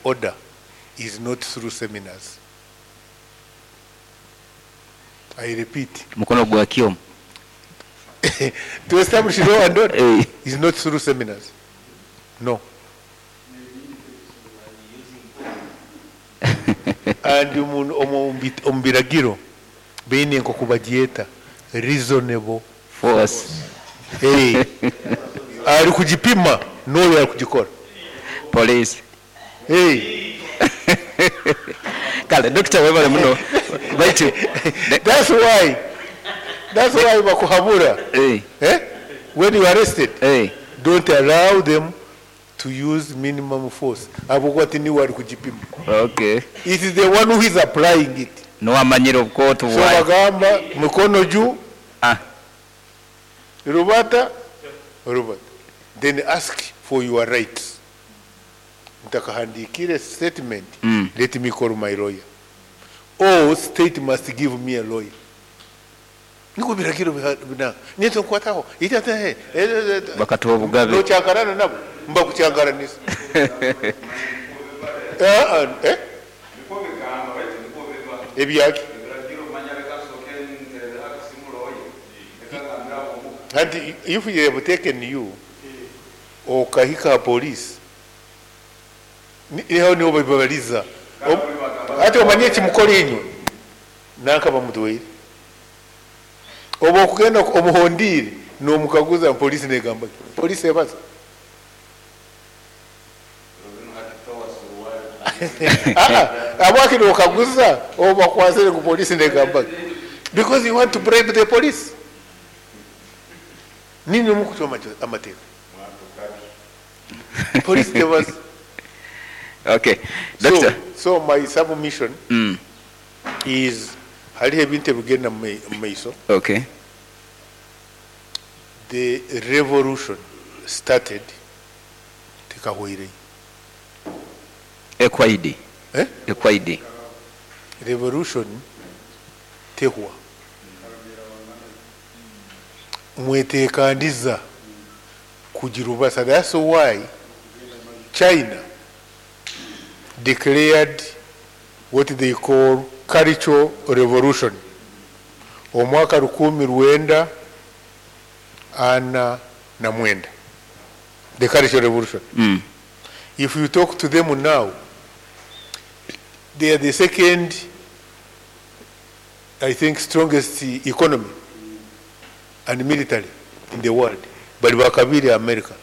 order is not through seminars. I repeat. Mukono gwa kyoma. To establish law and order is not through seminars. No. And omu biragiro baine nk'oku bagyeta reasonable force. Hey. Ari kugipima n'oyo ari kugikora. Police. Hey. Kale Dokita, webale muno, baitu That's why bakuhabura. Hey. Eh? When you are arrested, hey, don't allow them to use minimum force. Ahabwokuba tiniwe ari kugipima. It is the one who is applying it. Niwe amanyire obukooto So bwayo. bagamba mikono juu, Ah. rubata, rubata. Then ask for your rights. Ntakahandikire statement, let me call my lawyer. Or state must give me a lawyer. Niko biragiro bina. Nyeto nkwataho. Itata he. Bakatuha obugabe. Nocyankarana nabo. Mba kucyankaranisa. Eh, ah, eh? Ebyaki? And if you have taken you okahika police, niho niho babibabaliza. Ati omanye ekimukora inywe nanka bamutwaire, oba okugenda omuhondiire nomukaguza, polisi negamba ki? Polisi ebaza. Ah, ah, abwaki nokaguza oba bakwasire ku polisi negamba ki? Because you want to bribe the police. Nini omukucwa amateeka, police tebaza. Okay, Doctor. So my submission is hariho ebintu ebigenda mu maiso. The revolution started, tekahweireyo. Ekwaidi. Eh? Ekwaidi. Revolution tehwa, mwetekandiza kugira ubasa. That's why China declared what they call Cultural Revolution omwaka 1949, the Cultural Revolution. If you talk to them now, they are the second, I think, strongest economy and military in the world. Bali bakabiri America.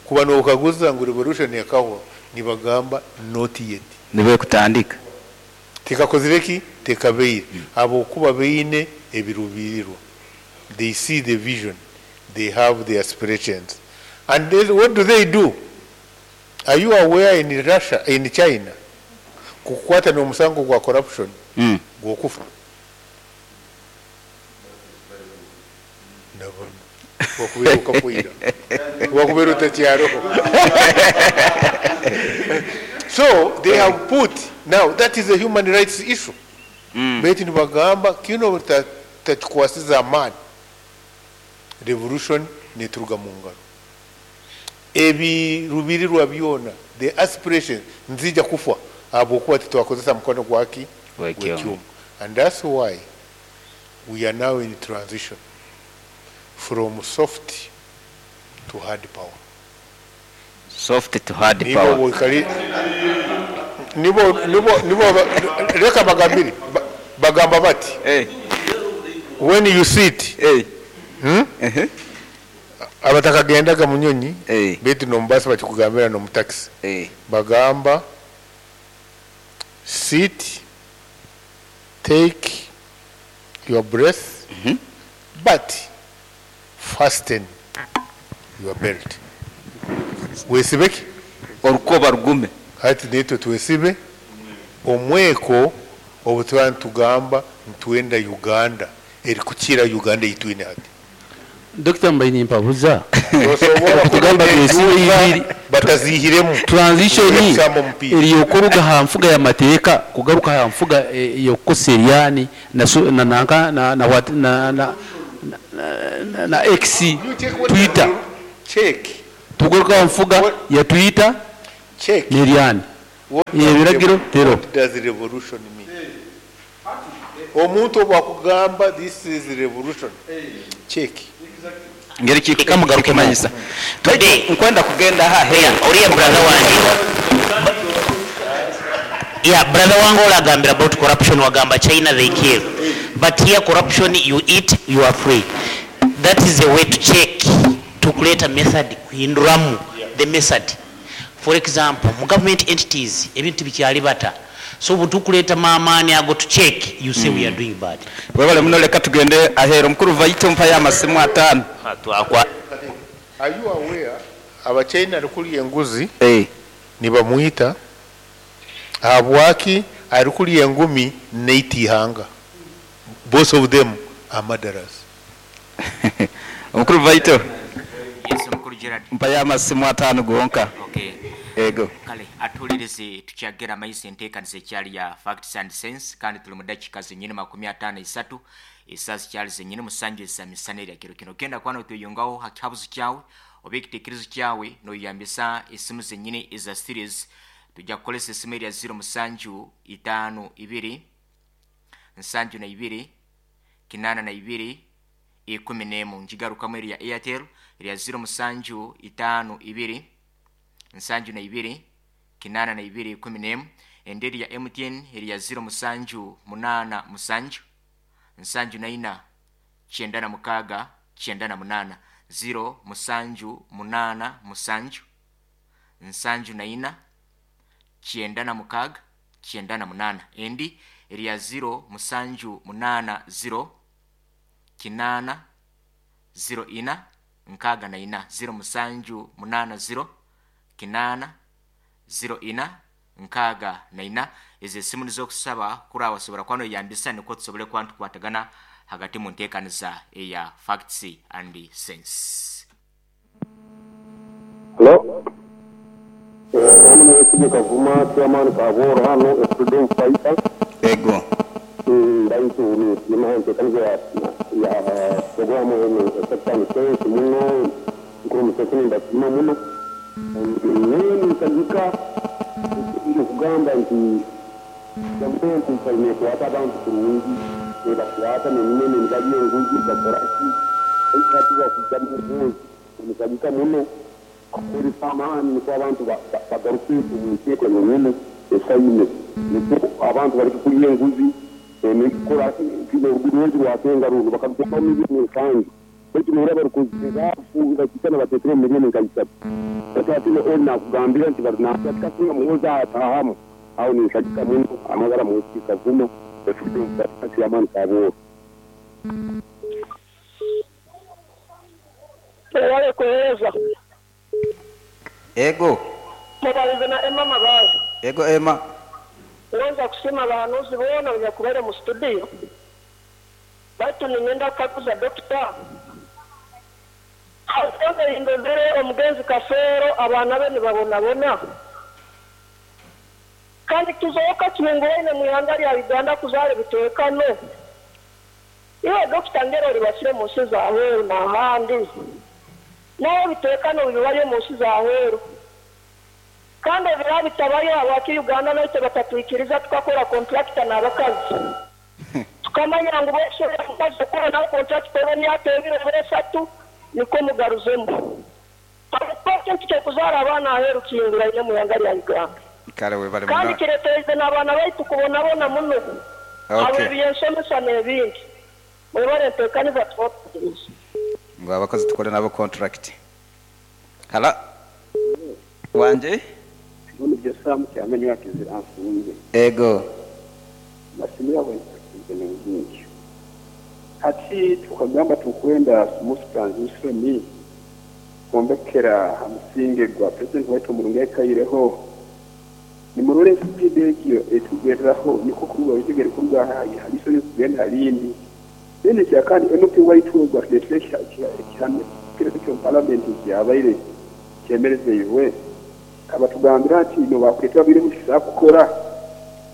Kuba nokaguza ngu revolution yakahwa, nibagamba not yet. Nibe kutandika. Tekakozire ki? Tekabeire. Abokuba beine ebirubirirwa. They see the vision. They have the aspirations. And then what do they do? Are you aware in Russia, in China, kukwata n'omusango gwa corruption gwokufa? Ndabona wakubeera okakwira, wakubeera otakyaroho. So they have put now, that is a human rights issue. Baitu nibagamba kino takikwasiza amaani, revolution neturuga mu ngaro, ebirubirirwa byona, the aspiration nzija kufa ahabwokuba titwakozesa mukono gwaki? Gw'ekyoma. Gw'ekyoma. And that's why we are now in transition from soft to hard power. Soft to hard Nibo power. Nibo reka bagambire, bagamba bati when you sit, Abatakagendaga mu nyonyi, baitu nomubasi bakikugambira, nomu taxi, bagamba sit, take your breath, but fasten your belt. Wesibeki? Orukoba rugume. Hati nitwe twesibe omweko obu tuba nitugamba nitwenda Uganda erikukira Uganda eyitwine hati. Dr. Mbaini, mpabuza. Tosobola Kugamba kubona twesibe enduuka ibiri. batazihiremu. Transition Okusamba omupiira. eriyokuruga ha nfuga ya mateeka kugaruka ha nfuga yokukosa eryani na na nanka na na what na na na, na X You check what Twitter. Check. Tugaruka ha nfuga ya Twitter Check. n'eryani. What does Ebiragiro tero. What does revolution mean? Omuntu obwakugamba this is revolution, check. Ngeri Reka mugarukemo. kikumanyisa. Today- Nkwenda kugenda Oya, oriya brother wange, yeah, brother wange olagambira about corruption, wagamba China they kill, but here corruption, you eat, you are free. That is a way to check, to create a method kuhinduramu the method. For example, mu government entities ebintu bikyali bata, so butukuleeta maamaani ago to check, you say we are doing bad. Webale muno, leka tugende aheero. Mukuru vaite, mpayo amasimu 5. Twakwa. Are you aware abachina arikulya enguzi Eh. nibamwita habwaki arikulya engumi neita ihanga? Both of them are murderers. Omukuru vaito. Yes, omukuru Gerard. Mpayo amasimu 5 gonka. Okay. Ego. Kale atuulirize, tukyagera maiso enteekaniza ekyali ya Facts and Sense, kandi tuli mu dakiika zenyini 53, esaawa zikyali zenyini 7 eza misana erya kiro kino. Genda kwana otweyongaho ha kihabuzo kyawe oba ekiteekerezo kyawe noyambisa esimu zenyini eza series. Tujja kukolesa esimu erya 07 5 2 72 82 11. Ngigarukamu, erya Airtel erya 07 5 2 72 82 11. Endi erya MTN erya 07 8 7 74 96 98, 0 7 8 7 74 96 98. Endi erya 0 7 8 0 8 0 4 64, 0 7 8 0 8 0 4 64. Ezo esimu nizokusaba kuri wasobora kuba noyambisa nikwo tusobole kuba nitukwatagana hagati mu nteekaniza eya Facts and Sense. Hello? Hano Mwesige Kavuma, chairman Kaboro hano, a freedom fighter. Ego. Ndaitu ni ntekaniza ya programu eno Facts and Sense muno, nkuru Museveni ndasima muno. Nini nsagika kugamba nti gavumenti nsaine ekwata abantu kurungi, ebakwata neminene nibalya enguzi bakoraki, ekati bakujja mu bubuzi omusagika muno akozesa amaani nikwo abantu bagaruke omu nteeko yenyine esaine, nikwo abantu bareke kulya enguzi nekukora orugudo rwasenga runo bakaruteekaho miliyoni 7, baitu nooraba rukozesa bakikana bateekere miliyoni nka 3. Ati oli nakugambira nti barunakasinga Muhoza atahamu aho ninsagika muno. Amagara Mwesige Kavuma, freedom fighter, chairman Kaboro. Wale kueleza. Ego. Mubalize na Emma Mabazi. Ego, Emma. Uweza kusima abahanuzi boona banyakubaire mu studio, baitu ningenda kukaguza dokita indozere omugenzi Kafeero, abaana be nibabonabona, kandi tuzooka kihinguraine mu ihanga lya Uganda kuzaara ebiteekano. Iwe dokita ngero olibasire mu nsi zaheeru n'ahandi, nawe ebiteekano bibayo mu nsi zaheeru, kandi ebira bitabayo, habwaki Uganda naitwe batatwikiriza tukakora contractor n'abakazi, tukamanya ngu bosobola omukazi okukora nawe contractor oba emyaka 2 oba 3 niko mugaruzemu? Habwokuba ekintu ky'okuzaara abaana aheeru kihinguraine mu ihanga lya Uganda. Kale webale Kandi muno. kireeterize n'abaana baitu kubonabona muno habw'ebyensomesa n'ebindi. Mwebale nteekaniza, tubakutegereza. Ngo abakozi tukore nabo contract. Hala wanje. None byo samu kyamenyo yakizira nfunze. Ego. Masimu yawe ngingi hati tukagamba tukwenda smooth transition kwombekera ha musinge gwa president waitu omurungi yakaireho, nimurore speed egyo etugereraho, niko kuruga bitegere kuruga haliso kugenda halindi. Then kya kandi MP waitu gwa ekihame kireko kyo parliament kyabaire kyemerezeiwe, abatugambira ati no bakweta biri mukisa kukora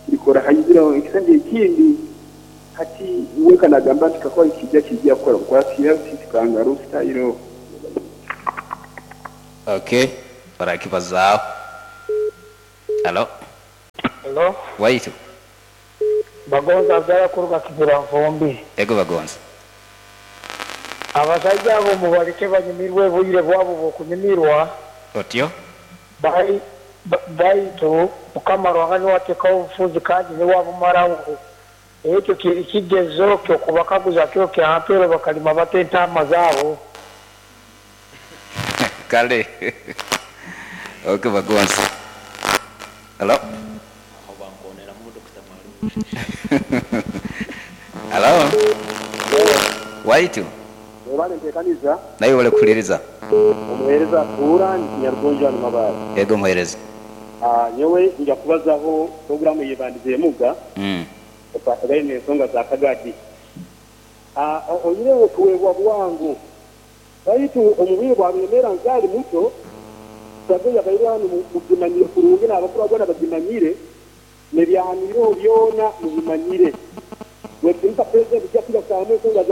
kirikora hayizira ekisanje ekindi. Hati we kanagamba nti kakora kijja kijja kukora kwatira kangaroo style. Okay, barakibazaaho. Halo. Hello? Waitu. Bagonza Abdalla kuruga Kibira Nfumbi. Ego Bagonza. Abasajja abo mubaleke banyumirwe obwire bwabo bw'okunyumirwa. Otyo? Baitu Mukama Ruhanga niwe ateekaho obufuzi kandi niwe abumaraho. Ekyo kiri kigezo ky'okubakaguza kiro kya mpero bakalima bata entaama zaabo. Kale. Okay Bagonza. Hello? Hello? Waitu. Webale ntekaniza. Naye webale kuhuliriza. Omuhereza atuura ndi Nyarugonjo hanu Mabaare. Ego omuhereza. Nyowe nja kubazaho puroguramu eyebandize emuga ekwatagaine n'ensonga za Kagadi. Oihireho tuweebwa bwangu baitu omu bwire bwa Rwemeera nkyali muto, survey yabaire hanu mugimanyire kurungi n'abakuru boona bagimanyire n'ebyahaniireho byona mubimanyire. Wekitinisa President bijja kugasaamu ensonga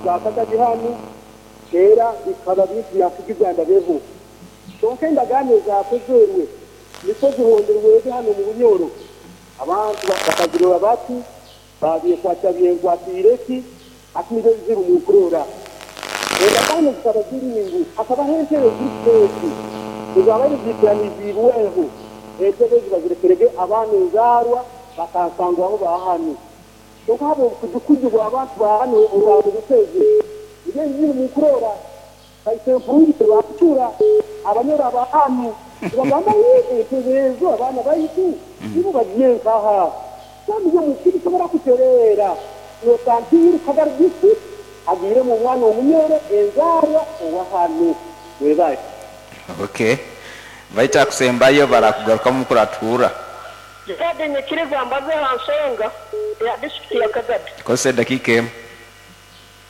za Kagadi hanu era bikaba bintu byakugiza ndabeho. Kyonka endagaano ezakozerwe nikwo zihonderwege hanu omu Bunyoro. Abantu bakazirora bati, babyekwata byenkwatiire ki, hati nibyo ebizibu mukurora. Endagaano zikaba ziri ngu hakabaho entebe ziri ezabaire ziitiraniziibweho. Entebe ezi bazirekerege abaana enzaarwa bakansangwaho ba hanu. Kyonka habw'obukujukujju bw'abantu ba hanu obwabubuseze, nibyo ebizibu mukurora. Kaise mpuruire bakucura abanyoro aba hanu nibagamba entebe ezo abaana baitu nibo bagiye nkaha. Kandi yo mukiri kisobora kutereera. Notantiiru Kagari district agiiremu omwana omunyoro enzaarwa owa hanu. Webale. Okay. Baita akusembayo barakugarukamu kuratuura. Kadi nyikiriza mbaze ha nsonga ya district ya Kagadi. Kozesa edakiika emu.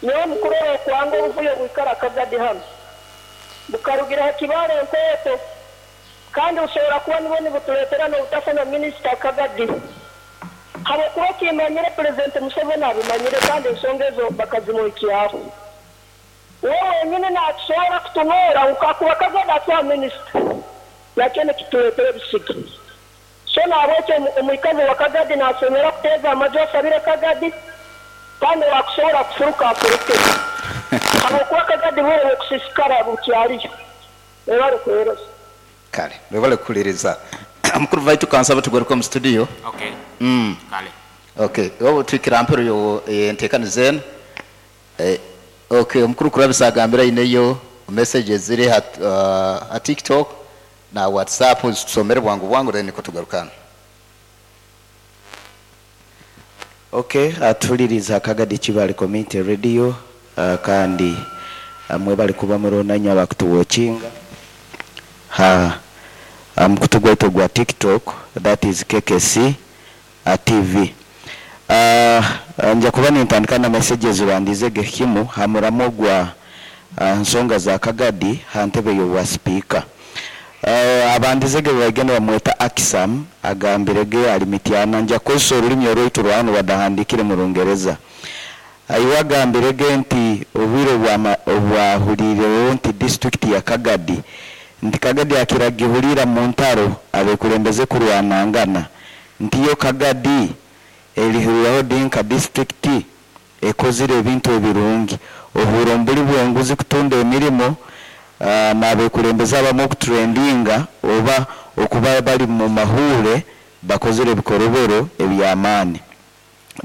Nyowe mukurora okwanga obuvuyo bwikara Kagadi hanu. Bukarugira ha Kibaale Nkoto. Kandi busobora kuba nibwo nibutuleetera n'obutafuna minisita Kagadi. Habwokuba okimanyire Pulezidenti Museveni abimanyire kandi ensonga ezo bakazimuhikyaho. We wenyini naatusobora kutunoora ngu kakuba Kagadi atuha minisita, nakyo nikituleetera ebisige. So nahabwekyo omwikazi wa Kagadi nasemera kuteeza amaju asabire Kagadi kandi owakusobora kufuruka afuruke. Habwokuba Kagadi bwire bw'okusiisikara bukyaliyo. Webale kuheereza. Kale, webale kuhuliriza. Mukuru waitu kansaba tugaruke omu studio. Okay. Kale. Okay, obu tuhikire aha mpero y'enteekaniza enu. Okay, omukuru Kurabisa agambire aineyo messages ziri ha TikTok na WhatsApp, tusomere bwangu bwangu then niko tugarukana. Okay, atuliriza Kagadi Kibale Community Radio, kandi mwebale kuba murona abakutuwatchinga ha mukutu gwaitu gwa TikTok, that is KKC TV. Nja kuba nintandika na messages bandize gekimu hamuramo gwa nsonga za Kagadi ha ntebe y'obwa speaker. Abandizege bagenda bamweta Akisam agambirege ali mityana nja kozesa orulimi orwaitu rwanu badahandikire mu Rungereza. Aiwagambirege nti obwire obwahulireho nti district ya Kagadi nti Kagadi akiragihulira mu ntaro abekulembeze kurwanangana nti yo Kagadi erihuriraho dinka district ekozire ebintu ebirungi oburombuli bw'enguzi kutunda emirimo n'abekulembeze abamu okutrendinga oba okuba bali mu mahure bakozere ebikorobero eby'amaani.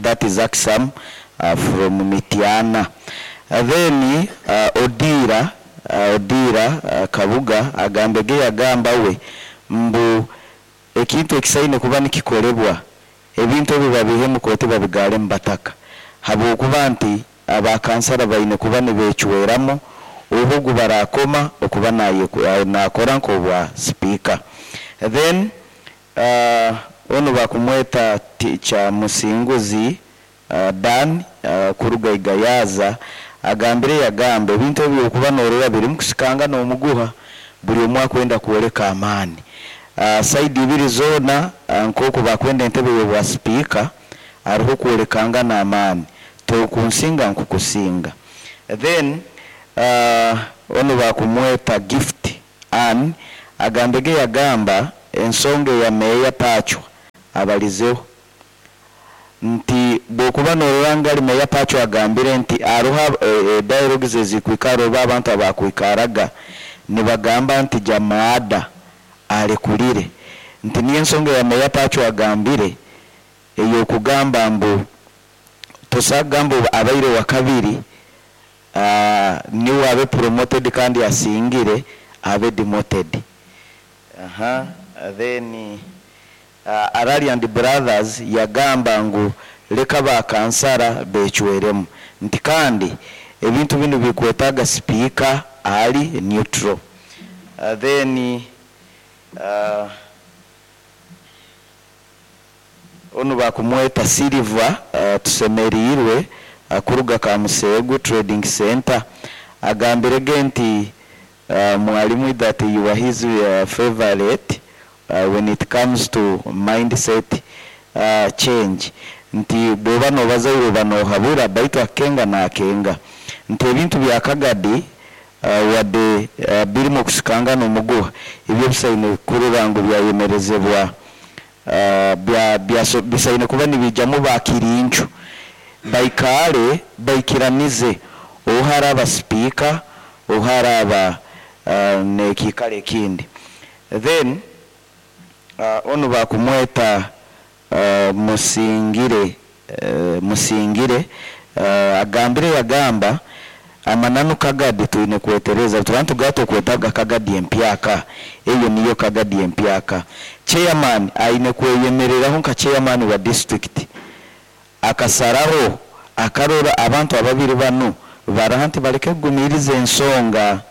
That is Aksam from Mityana. Then Odira Kabuga agambege yagamba we mbu ekintu ekisaine kuba nikikorebwa ebintu ebi babihe mu kooti babigale mu bataka habwokuba nti abakansara baine kuba nibecweramu obugu barakoma okuba nakora nk'obwa speaker. Then ono bakumweta Kya Musinguzi Dan kuruga Igayaza agambire yagambe ebintu ebyo okuba norora biri mukusikanga n'omuguha buri omwe akwenda kwoleka amaani. Saidi ibiri zona nk'oku bakwenda entebe y'obwa speaker hariho kwolekanga n'amaani tokunsinga nkukusinga. Then ono bakumweta Gift Ann agambege yagamba ensonga ya meya Pachwa Abalizeho nti bwokuba norora ngali Meya Pacho agambire nti aruha dialogues ezikwikara oba abantu abakwikaraga nibagamba nti Jamaada alekulire, nti niyo ensonga ya Meya Pacho agambire ey'okugamba mbu tosagamba abaire wa kabiri, niwe abe promoted kandi asingire abe demoted. Aha, then Araliand Brothers yagamba ngu leka bakansara becweremu, nti kandi ebintu binu bikwetaga speaker ali neutral. Then onu bakumweta Silver, tusemerirwe, kuruga Kamusegu Trading Center, agambirege nti mwalimu that you are his favorite when it comes to mindset change, nti bwoba nobazaire oba nohabura baitu akenga nakenga, nti ebintu bya Kagadi wadde birimu okusikanga n'omuguha, ebyo bisaine kurora ngu byayemerezebwa, bisaine kuba nibijamu bakirincu baikale baikiranize oharaba speaker oharaba nekikale ekindi. Then onu bakumweta Musingire agambire yagamba amananu Kagadi twine kwetereza tubantu gato kwetaga Kagadi empyaka, eyo niyo Kagadi empyaka. Chairman aine kweyemereraho nka chairman wa district akasaraho akarora abantu ababiri banu baraha nti baleke kugumiriza ensonga.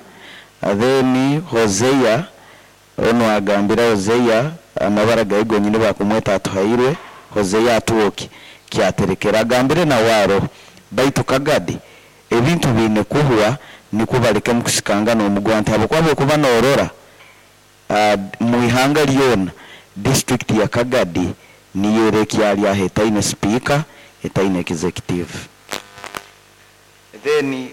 Then Hosea ono agambira Hosea amabara gaye gonyine bakumweta Atuhairwe Hosea atuoki kyaterekera agambire na waro baitu Kagadi ebintu bine kuhwa niko baleke mukusikanga n'omugwa, nti habwokuba kuba norora muihanga lyona district ya Kagadi niyo erekyali aho etaine speaker etaine executive. Then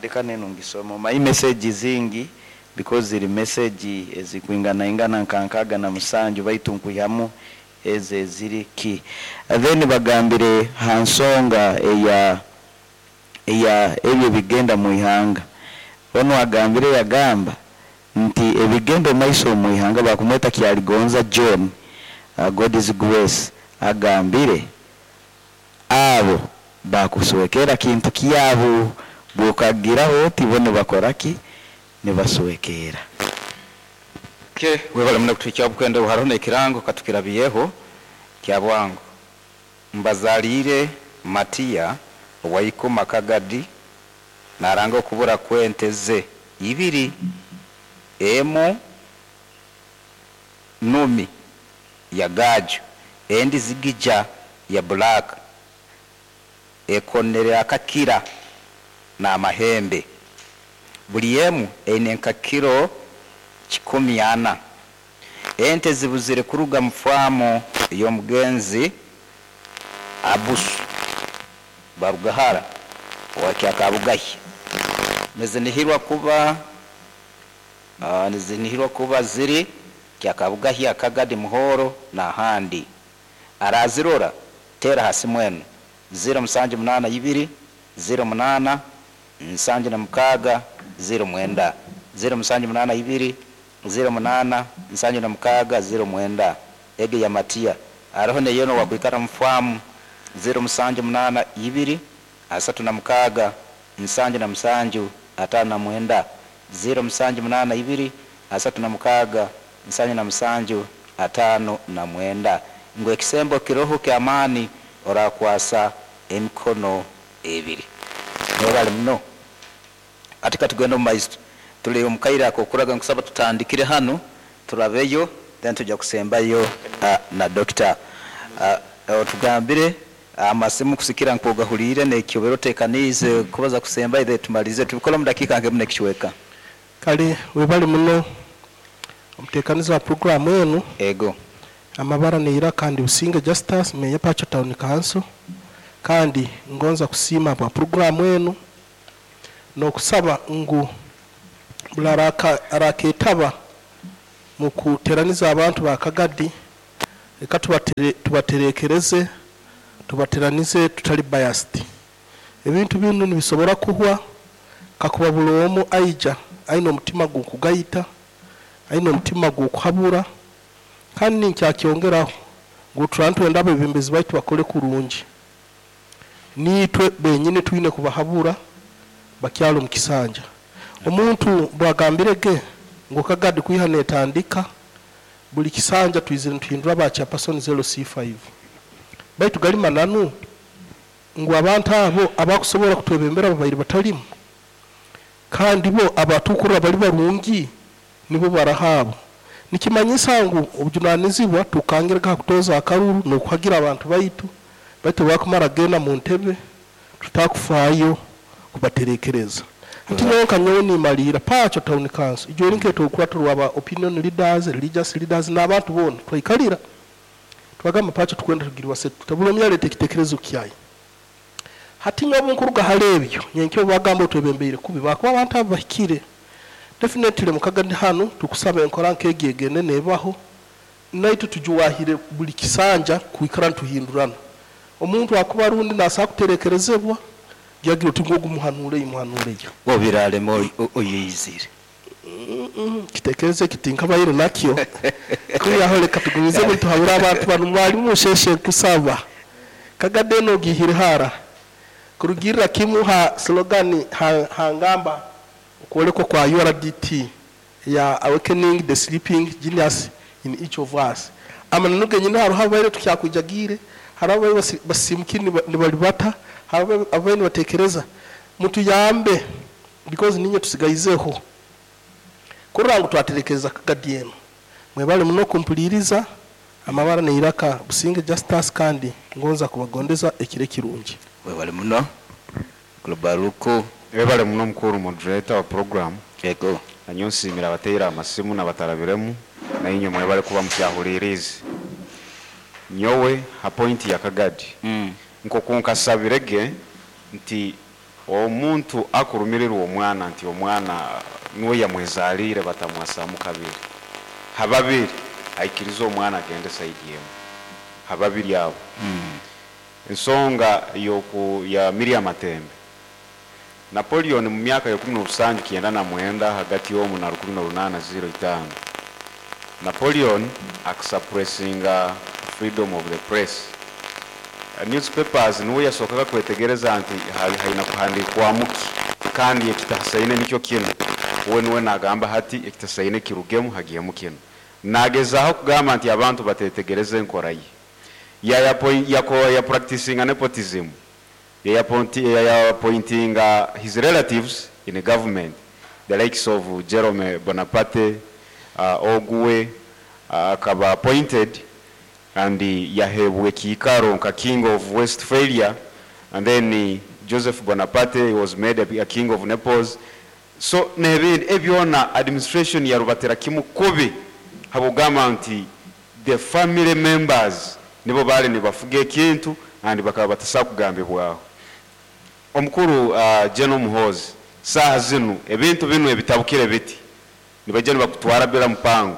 deka neno ngisoma my message zingi because ziri message ezikwingana ingana nkankaga na musanju baitu nkuyamu eze ziri ki. Then bagambire hansonga eya ebyo bigenda muihanga, ono agambire yagamba nti ebigenda maiso muihanga bakumweta Kyaligonza John, God is grace, agambire abo bakuswekera kintu kyabo bukagiraho tibone bakoraki nibaswekera. Ke webale muna kutuikya bukwenda hariho nekirango katukirabiyeho kya bwangu mbazalire Matia waikoma Kagadi naranga okubura kwente ze ibiri emu numi ya gaju endi zigija ya black ekonere akakira na amahembe buli emu eine nkakiro 14. Ente zibuzire kuruga mfamo y'omugenzi Abusu Barugahara wakyakabugahi nizinihirwa kuba ziri kyakabugahi Akagadi Muhoro na handi. Arazirora tera hasi mwenu 0782 08 76 09 0782 08 76 09 ege ya Matia aroho neyono wakwikara mfamu 0782 36 77 59 0782 36 77 59 ngo ekisembo kiroho kya amani orakwasa emikono ebiri. Nobale muno atika tugenda mu tuli omukaira akokuraga nkusaba tutandikire hano turabeyo then tujja kusembayo na doctor tugambire amasimu kusikira nkogahulire nekyobero tekanize kubaza kusemba ile tumalize tubikola mu dakika nge mune kichweka. Kale webali muno omutekanizi wa program enu ego amabara neira kandi Businga Justus Meya Pacho Town Council, kandi ngonza kusima bwa program enu nokusaba ngu bularaka araketaba mu kuteraniza abantu ba Kagadi Reka tubaterekereze, tubateranize tutali biased. Ebintu binu nibisobora kuhwa kakuba buli omu aija aine omutima gw'okugayita, aine omutima gw'okuhabura, kandi ninkyakyongeraho ngu turaba nitwenda abebembezi baitu bakole kurungi. Niitwe benyini twine kubahabura bakyali omu kisanja. Omuntu bwagambirege ngu Kagadi kwiha netandika buli kisanja twizire nituhindura ba chairperson LC5. Baitu gali mananu ngu abantu abo abakusobora kutwebembera babaire batalimu, kandi bo abatukurra bali barungi nibo barahaabo. Nikimanyisa ngu obujunanizibwa tukangirega ha kutoza akaruru n'okuhagira abantu baitu, baitu bakumara genda mu ntebe tutakufaayo kubaterekereza. Hati nyowe nka nyowe nimalira Pacho Town Council ijo eri nketo okurato rwaba opinion leaders, religious leaders n'abantu bona twaikalira twagamba Pacho tukwenda tugirwa setu tabula omyalete ekitekerezo kyayi. Hati nyowe nkuruga hali ebyo nyenkyo bagamba otwebembeire kubi bakuba abantu abo bahikire. Definitely mukagandi hano tukusaba enkora nkegi egende nebaho naitu tujuwahire buli kisanja kuikara ntuhindurana. Omuntu akuba rundi nasa kuterekerezebwa yagira uti ngo gumuhanure imuhanure yo. Obiralemo oyizire. Kitekereze kiti nkabayire nakyo. Kuyaho reka tugumize tuhabura abantu bano mwalimu musheshe kusaba. Kagade no gihire hara. Kurugirira kimu ha slogan hangamba kuolekwa kwa URDT ya awakening the sleeping genius in each of us. Amananu genyine haro habaire tukyakujagire, haro basimukini nibalibata, haro abaire batekereza mutuyambe because ninye tusigaizeho. Kurra ngu twaterekereza Kagadi eno. Mwebale muno kumpuliriza amabara neiraka Businge Justus kandi ngonza kubagondeza ekire kirungi. Mwebale muno. Globaluko Ebale muno mukuru moderator wa program. Yego. Nanyo nsimira abateera amasimu n'abatarabiremu na inyo mwebale kuba mukyahulirize. Nyowe ha point ya Kagadi. Nkokunkasabirege nti omuntu akurumirirwa omwana nti omwana nuwe yamwezalire batamwasamu kabiri. Hababiri aikiriza omwana agende side yemu. Hababiri abo. Ensonga yoku ya Miriam Matembe. Napoleon mu myaka ya 1799 hagati y'omu na 1805. Napoleon akasuppressinga freedom of the press. Newspapers niwe yasokaga kwetegereza nti haina kuhandikwa muki kandi ekitasaine nikyo kino. We niwe nagamba hati ekitasaine kirugemu hagiyemu kino. Nagezaho kugamba nti abantu batetegereze enkora ye. Ya practicing nepotism. Ya appointing his relatives in the government, the likes of Jerome Bonaparte, Ogwe, akaba appointed and yahebwe kiikaro nka king of Westphalia, and then Joseph Bonaparte was made a king of Naples. So nebindi ebyona administration yarubatera kimu kubi habugamba nti the family members nibo bali nibafuga ekintu and bakaba batasa kugambibwaho. Omukuru General Muhoozi saha zinu ebintu binu ebitabukire biti nibajja nibakutwara bila mpango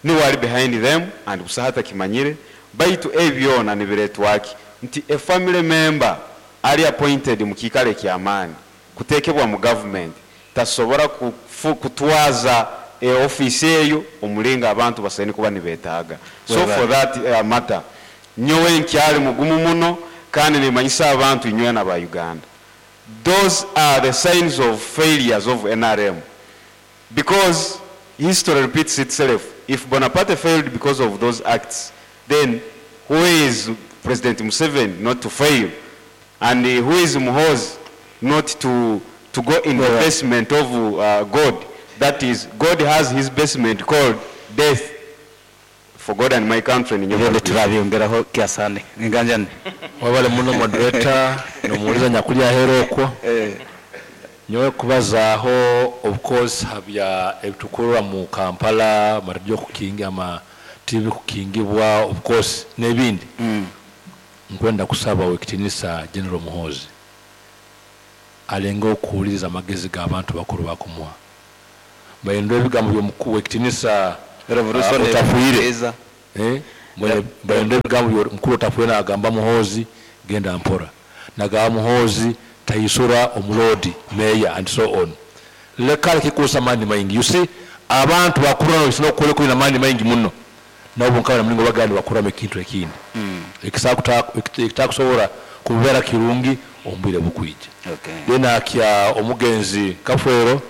ni wali behind them and busahata kimanyire baitu ebyona nibiretwaki nti a family member ali appointed mu kikale kya amani kutekebwa mu government tasobora kutwaza office eyo omulinga abantu basaini kuba nibetaaga. So for that matter nyowe nkyali mugumu muno kandi nimanyisa abantu inywe na ba Uganda. Those are the signs of failures of NRM, because history repeats itself. If Bonaparte failed because of those acts, then who is President Museveni not to fail? And who is Muhoozi not to go in the basement of God? That is, God has his basement called death. For God and my country. Turabyongeraho kiasane. Nganjane. Wabale muno moderator nomuuliza nyakulya hero okwo. Nyowe kubazaaho of course habya ebitukurwa mu Kampala maradiyo kukinga ama TV kukingibwa of course n'ebindi. Nkwenda kusaba wekitinisa General Muhoozi alenga okuwuliriza amagezi g'abantu bakuru bakumuha. Bayendo ebigambo by'omukuru wekitinisa Revolution Otafiire. Mbaende ebigambo byo mukuru Otafwena agamba Muhoozi genda mpora, nagamba Muhoozi taisura omulodi meya and so on. Leka kikusa amani maingi. You see, abantu bakura no okukora kulina amaani maingi muno, nabo nkabona mulingo bagandi bakuramu ekintu ekindi ekitakusobora kubeera kirungi omu bwire bukwija. Then akya omugenzi Kafwero,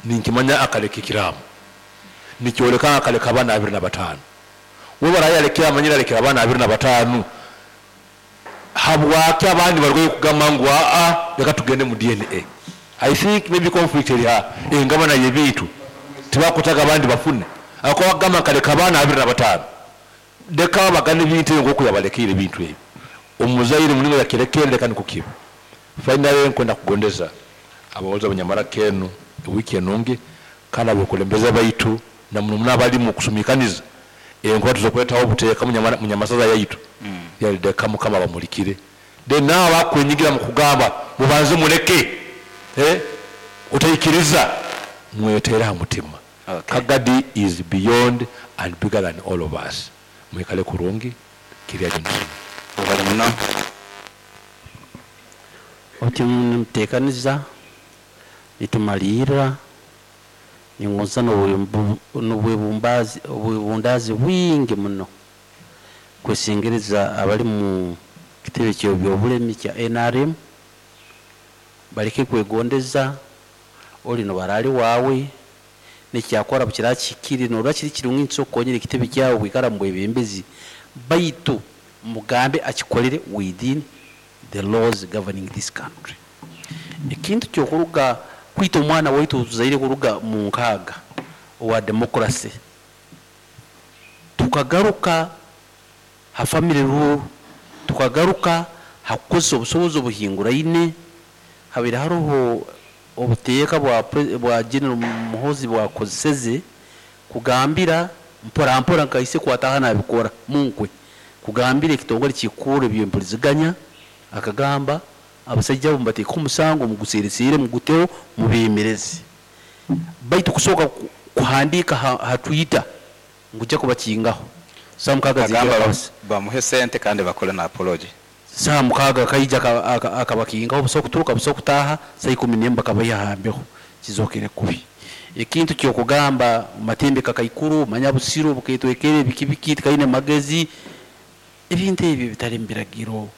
ninkimanya akaleka ekiraamo nikyoleka akaleka abaana 25. We barayalekera amanyire alekera abaana 25, habwaki abandi barwaye kugamba ngu aa leka tugende mu DNA? I think maybe conflict eri ha engabana y'ebintu, tibakutaga abandi bafune ako bagamba nkaleka abaana 25, leka bagane ebintu ebyo nkoku yabalekire ebintu ebyo. Omuzaire mulingo yakirekere, leka nikukiba. Finally, nkwenda kugondeza abawoza abanyamara kenu ewiki enungi, kandi abekulembeze baitu na muno muno abali mu kusumikaniza enkuba tuzokwetaho obuteeka munyamasaza yaitu, yalideka Mukama bamulikire. Then nawe bakwenyigira mu kugamba mubanze muleke, otaikiriza mwetere ha mutima. Kagadi is beyond and bigger than all of us. Mwikale kurungi kirya jinsi. Oti mutekaniza nitumalira ningoza n'obwebundazi bwingi muno kwesingereza abali mu kitebe ky'ebyobulemi kya NRM baleke kwegondeza oli no barali wawe nekyakora bukira kikiri norwa kiri kirungi nsokonyera ekitebe kyawe kwikara mu bwebembezi, baitu mugambe akikolere within the laws governing this country. Ekintu kyokuruga kwita omwana waitu tuzaire kuruga mu nkaaga owa democracy tukagaruka ha family rule, tukagaruka hakukozesa obusobozi obuhinguraine, habire hariho obuteeka bwa General Muhoozi bwakozeseze kugambira mpora mpora nkaise kwataha nabikora munkwe kugambira ekitongole kikuru ebyempuliziganya, akagamba abasajja abo mbateeka omusango muguseresere muguteho mubemereze, baitu kusooka kuhandiika ha Twitter ngujja kubakingaho saa mukaaga Agamba bamuhe sente kandi bakole na apology. Saa mukaaga kaija akabakingaho busa okuturuka busa okutaaha saa 11 bakabayiha hambeho kizokere kubi. Ekintu kyokugamba matembe kakaikuru manya busiro buketwekere biki biki tikaine magezi, ebintu ebyo bitali mbiragiro.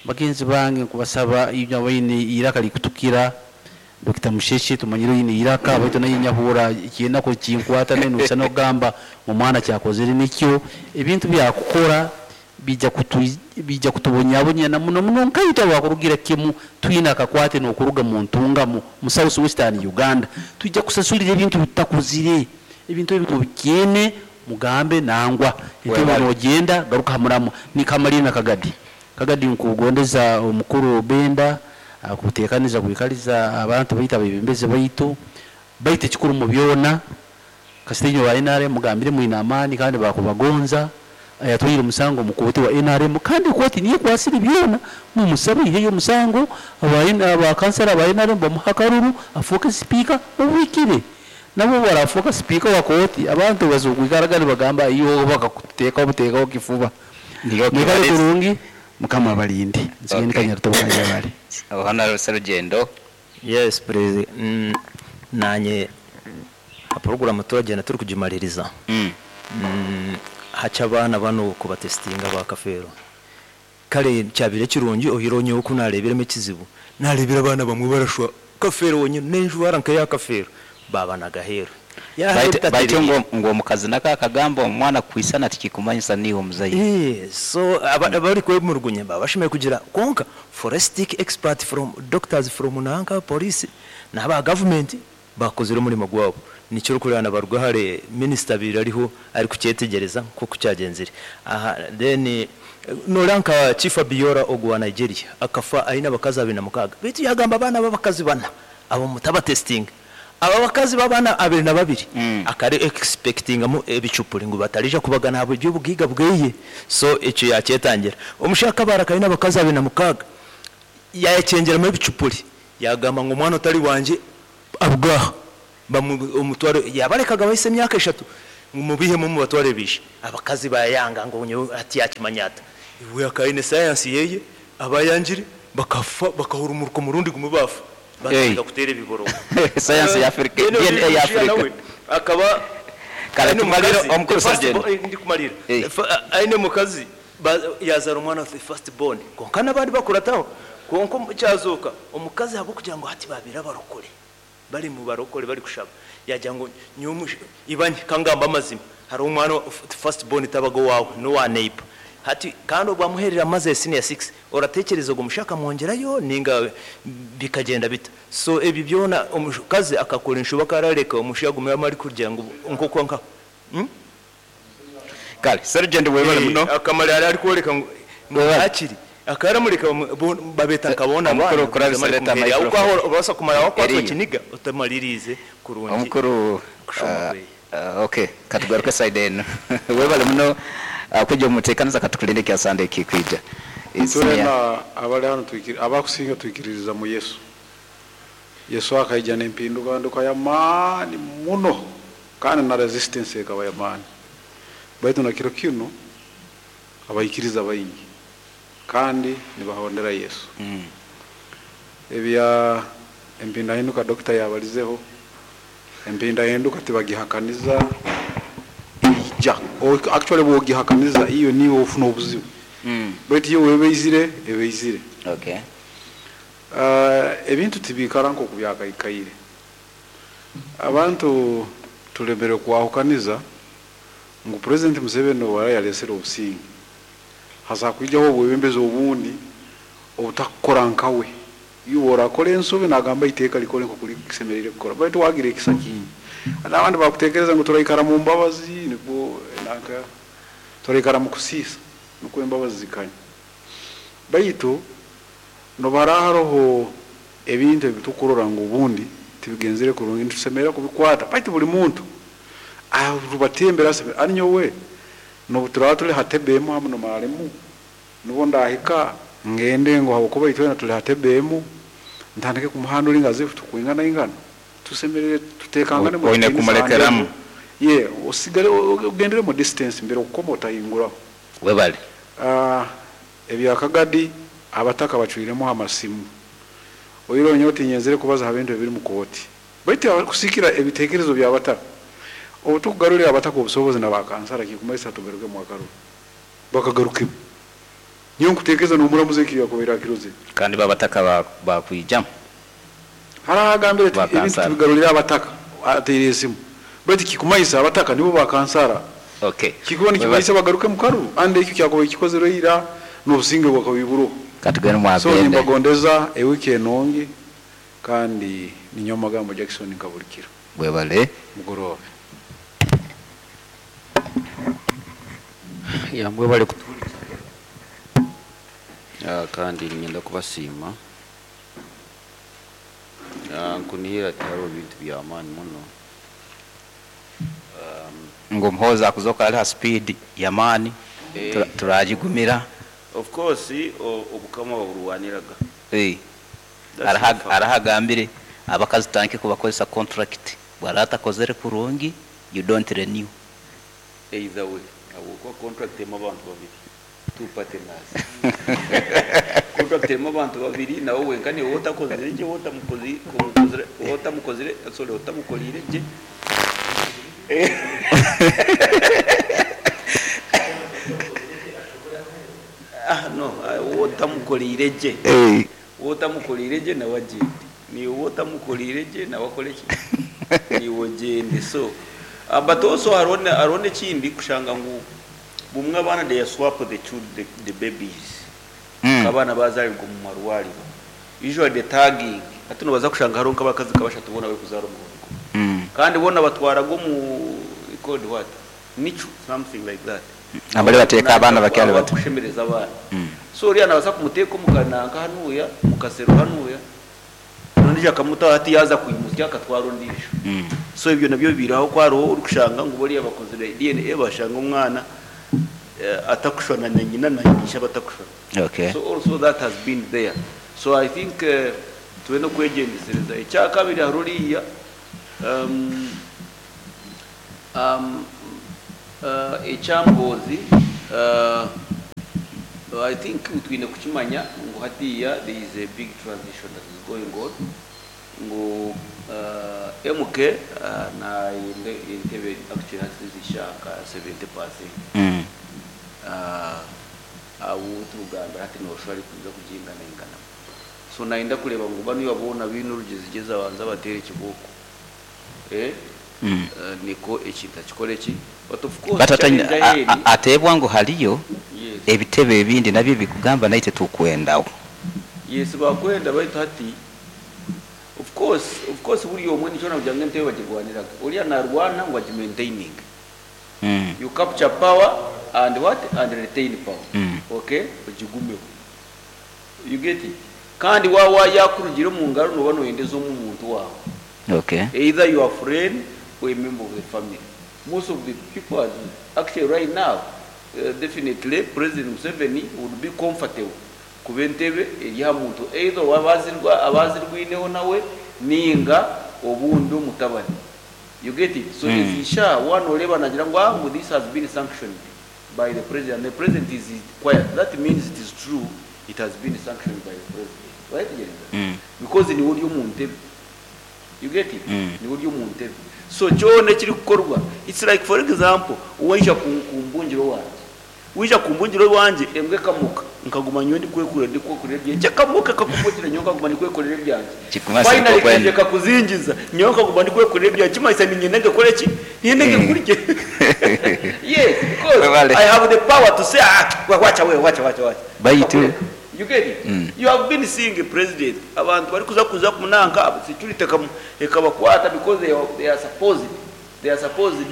Bagenzi bange nkubasaba ibyo abaine iraka likutukira Dr. Musheshe tumanyire ine iraka baitu naye nyahura ikinako kinkwata nenu usana ogamba mu mwana cyakozere nikyo ebintu byakukora bijja kutubonyabonya na muno muno nkaita bakurugira kimu twina akakwate n'okuruga mu ntungamo mu South Western Uganda tujja kusasulira ebintu bitakuzire ebintu ebyo bikyene mugambe nangwa Webale. nogenda garuka hamuramu nikamalina na Kagadi. Kagadi nkugondeza omukuru Benda akutekaniza kwikaliza abantu baita bebembeze baitu baite kikuru mu byona kasitenyo wa NRM mugambire mwina amani kandi bakubagonza ayatwire musango mukoti wa NRM kandi koti niye kwasiri byona mumusabe iheyo musango aba kansala ba NRM bamuhakaruru afuke speaker mubikire nabo barafuka speaker wa koti abantu bazokwikaraga bagamba iyo bakakuteka obuteka kifuba Niyo mwikale kibalezi. kurungi Mukama abalinde. Nsigende Kanyarutabo kanyabale. Honorable Serugendo. Yes, president. Nanye program turagenda turi kugimaliriza. Hacha abana bano kubatestinga ba Kafeero. Kale kyabire kirungi ohironye okunarebiremo ekizibu. Narebira abana bamwe barashwa Kafeero wonyine nenjwara nka ya Kafeero. Baba nagahero. Baite ngo omukazi naka akagamba omwana kwisana tikikumanyisa niwe omuzaire. So abari kwemurugunya babashimye kugira konka forensic expert from doctors from nanka police n'aba government bakozire umurimo gwabo. Nikyo kurana barugahare minister birariho ari kucyetegereza ko kucyagenzire. Aha then noranka Chief Abiola ogwa Nigeria akafa aina bakazi 26. Bitu yagamba abana b'abakazi bana abo mutaba testing. Aba bakazi babana 22 akari expecting mu ebicupuri ngo batarija kubagana abo by'ubugiga bweye. So icyo yakyetangira omushaka barakaina bakazi 26 yayecengeramo ebicupuri yagamba ngo umwana utari wanje abwaha omutwaro yabarekaga bahise imyaka 3 Ngu mubihemu mubatware bishe. Abakazi bayanga ngu nyowe ati yakimanya ata. Iwe akaine science yeye abayangire bakafa bakahurumuruka omurundi gumwe bafa. Batandika kuteera ebiborogo. Science ya Africa, Then DNA ya omushaija Africa. nawe akaba Kare aine tumalire omukazi, omukuru the first Sergeant. ndikumalira. Aine omukazi yazara omwana the first born. Konka n'abandi bakurataho. Konka kyazoka omukazi ahabw'okugira ngu hati babire abarokore. Bari mu barokore bari kushaba. Yagira ngu nyowe ibanye kangamba amazima. Hari omwana first born tabaga wawe n'owa neighbor. Hati kandi obwamuherera amaze senior 6 oratekereza ogo mushaka mwongerayo ninga bikagenda bita. So ebi byona omukazi akakora enshoba karareka omushago gumwe amari kugira ngu nkoko nka. Kale Sergeant webale muno. Akamara ari kworeka ngu hakiri akaramureka babeta nkabona Omukuru abana, kurabisa bamara leta kumuhera. microphone. Uko aho obasa kumara wakwatwa Eriyo. kiniga utamalirize kurungi. Omukuru kushoma okay katugaruke side eno. Webale muno kujja omuteekaniza katukulinde kya Sunday kikwija. Tulina abali hano abakusinga twikiririza mu Yesu. Yesu akaija n'empinduka y'amaani muno kandi na resistance ekaba y'amaani. Baitu na kiro kino abaikiriza baingi kandi nibahondera Yesu. Ebya empindahinduka dokita yabalizeho, empindahinduka tibagihakaniza ija. Actually bwogihakaniza iyo niwe ofuna obuzibu. Baitu iyo webeizire ebeizire. Ebintu tibikara nko kubyakaikaire. Abantu tulemere kwahukaniza ngu President Museveni wara yalesera obusinge. Hasa kwijaho obwebembezi obundi obutakukora nkawe. Iwe orakora ensobi nagamba iteeka likore nko kuri kisemerire kukora. Baitu wagira ekisa kingi. N'abandi bakutekereza ngu turaikara mu mbabazi nibwo nanka turaikara mu kusiisa nukwo embabazi zikanya. Baitu nobara haroho ebintu ebitukurora ngu obundi tibigenzere kurungi nitusemera kubikwata. Baitu buli muntu arubatembera aseme anyowe nobuturaba tuli hatebemu hamu nomaremu nubo ndahika ngende ngo hakuba itwena tuli hatebemu ntandike kumuhandura ingazi tukwingana ingana tusemerere tutekangane mu Oine kitinisa kumulekeramu. hande. Ye osigale ugendere mu distance mbere ukoma utahinguraho. Webale. Ebya Kagadi abataka bacwiremo amasimu. Oyiro nyoti nyenzere kubaza habintu ebiri mu koti. Baitu kusikira ebitekerezo bya bataka. Obutukugarurira abataka obusobozi na bakansara kikumaisa tugaruke mu akaru. Bakagaruke. Niyo nkutekereza n'omuramuzi ekyo yakubera kiroze. Kandi babataka bakwijam. Haragambire ati Bakansara. ebintu tubigarurira abataka ateire esimu. Baitu kikumaisa abataka nibo bakansara. Kikuba nikimaisa bagaruke mu karu ande ekyo kyakuba kikozere ira n'obusinge bwakabiburo. Katugende mu So agende. nimbagondeza ewiki enongi kandi ninyo magambo Jackson nkabulikira. Webale. Mugorobe. Ya mwebale kutuwuliriza. Kandi ngenda kubasiima. Nkunihira ati hariho ebintu by'amaani muno. Ngo Muhoozi akuzoka ali ha speed y'amaani turagigumira. Of course obukama baburwaniraga. That's the fact. Arahagambire abakazi tanke kubakozesa contract bwara atakozere kurungi you don't renew. Either way habwokuba contract erimu abantu babiri, two partners. Contract erimu abantu babiri nawe wenka niwe otakozire gye otamukozire, sorry, otamukolire gye. No, otamukolire gye. Otamukolire gye nawe agende. Niwe otamukolire gye nawe akore ki? Niwe ogende. So, but also hariho n'ekindi kushanga ngu bumwe abaana they swap the children, the babies. Abaana bazarirwa mu marwariro. Usually the tagging. Hati nobaza kushanga hariho nk'abakazi kabashatu bona bari kuzaara omugongo. Kandi bona batwaraga omu called what? Nichu, something like that. Abali bateeka abaana bakyali bato. Kushemereza abaana. So oriya nabaasa kumuteeka omu kananka hanuya, mu kasero hanuya. Ondiijo akamuta hati yaza kwimusya akatwara ondiijo. So ebyo nabyo biraho ko hariho orikushanga ngu bariya bakozire DNA bashanga omwana atakushwana na nyina na nyisha batakushwana. So also that has been there. So I think tube no kwegyendesereza. Ekyakabiri hari oriya Ekya Muhoozi, I think twine kukimanya ngu hatiya there is a big transition that is going on, ngu MK nayenda entebe actually hati zishaka 70%. Abo turugambira hati noshobora ari kuza kugingana ingana, so nayenda kureba ngu banu boona biine orugezigezi abanza batere ekiboko. Niko ekintu akikora eki, but of course Batatanya challenge ahead. Ateebwa ngu haliyo Yes. ebitebe ebindi nabyo bikugamba naite tukwendawo. Yes, bakwenda, baitu hati of course buri omwe nikyo nakugira ngu entebe bagirwaniraga, oriya narwana ngu agimaintaining. You capture power and what, and retain power. Okay, ogigumeho, you get it? Kandi wawa yakurugira omu ngaro, noba noyendeza omu muntu wawe, either your friend or a member of the family. Most of the people are actually right now, definitely President Museveni would be comfortable kuba entebe eri ha muntu either abazirwineho nawe ninga obundi omutabani, you get it? So ezisha one oreba nagira ngu ah, this has been sanctioned by the president, and the president is quiet, that means it is true, it has been sanctioned by the president, right? Because niwe ori omu ntebe, you get it? Niwe ori omu ntebe, so kyona ekiri kukorwa, it's like, for example, waija kumbungiro wanje, wija kumbungiro wanje, embwa ekamuka, nkaguma nyowe ndikwekurira, ndikwekurira ebyange, ekamuka ekakumbukira, nyowe nkaguma ndikwekurira ebyange. Kikumasa Finally nikokwenda. kaije kakuzingiza, nyowe nkaguma ndikwekurira ebyange, kimanyisa ninyenda ngekore ki? Ninyenda ngekurye. Yes, because Webale. I have the power to say, "Ah, wacha we, wacha, wacha, wacha." Baitu You get it? You have been seeing a president, abantu bari kuza kumunanka security ekabakwata because they are supposed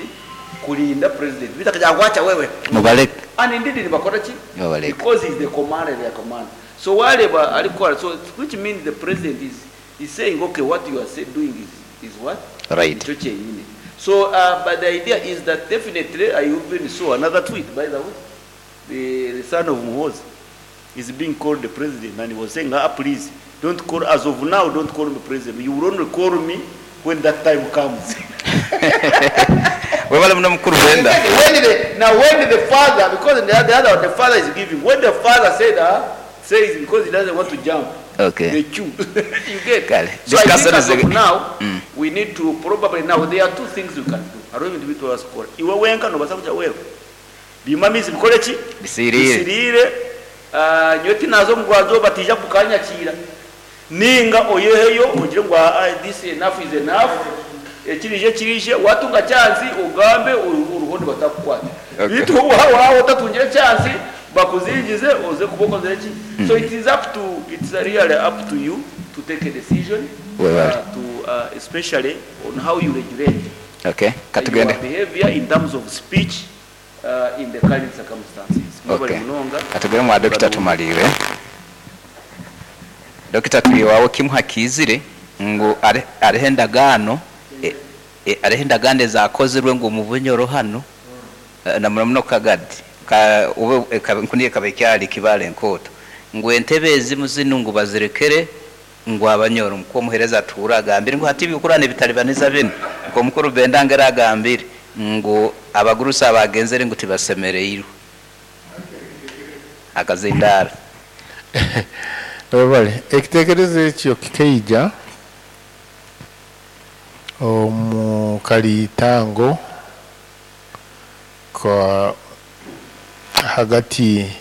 kulinda president, bitakaja wacha wewe. Mubaleke. And indeed nibakora ki? Babaleke. Because he's the commander, their commander. So wareba arikora, so which means the president is saying, "Okay, what you are doing is what?" Right. Nikyo kyenyine. So but the idea is that definitely, I even saw another tweet, by the way, the son of Muhoozi is being called the president, and he was saying, "Ah, please don't call, as of now don't call me president. You will only call me when that time comes." Webale muno, mukuru Benda. Now when the father, because the other the father is giving, when the father said, ah, says because he doesn't want to jump the queue, you get? Kale. So I Discuss think as it. of now, we need to probably, now there are two things you can do. Hariho ebintu bitwara kukora iwe wenka, nobasa kujya wewe bimamizi bikore ki? Bisirire. Bisirire. Ah, nyowe tinaza omugwanzo batija kukanyakira, ninga oyeheyo ogire ngu ah, this enough is enough, ekirije kirije, watunga chance ugambe uruhondo batakukwata. Bitu wawe otatungire chance, bakuzingize oze kubokozere ki. So it is up to it's really up to you to take a decision, Webale. To especially on how you regulate Katugende. your behavior in terms of speech in the current circumstances. Mwebale munonga. Katugende mwa dokita tumalire. Dokita, tuliwawo kimu hakizire ngu areho endagaano areho endagaano ezakozirwe ngu mu Bunyoro hano, na muno muno Kagadi ka ube nkuniye kabekyali kibale enkoto ngu entebe ezimu zinu ngu bazirekere ngu Abanyoro, nko omuhereza atuura agambire ngu hati ebikurana ebitalibaniza binu, nko omukuru Bendangera agambire ngu abagurusi abagenzere ngu tibasemereirwe akazindara. Webale, ekitekerezo ekyo kikaija omu kalitango ka hagati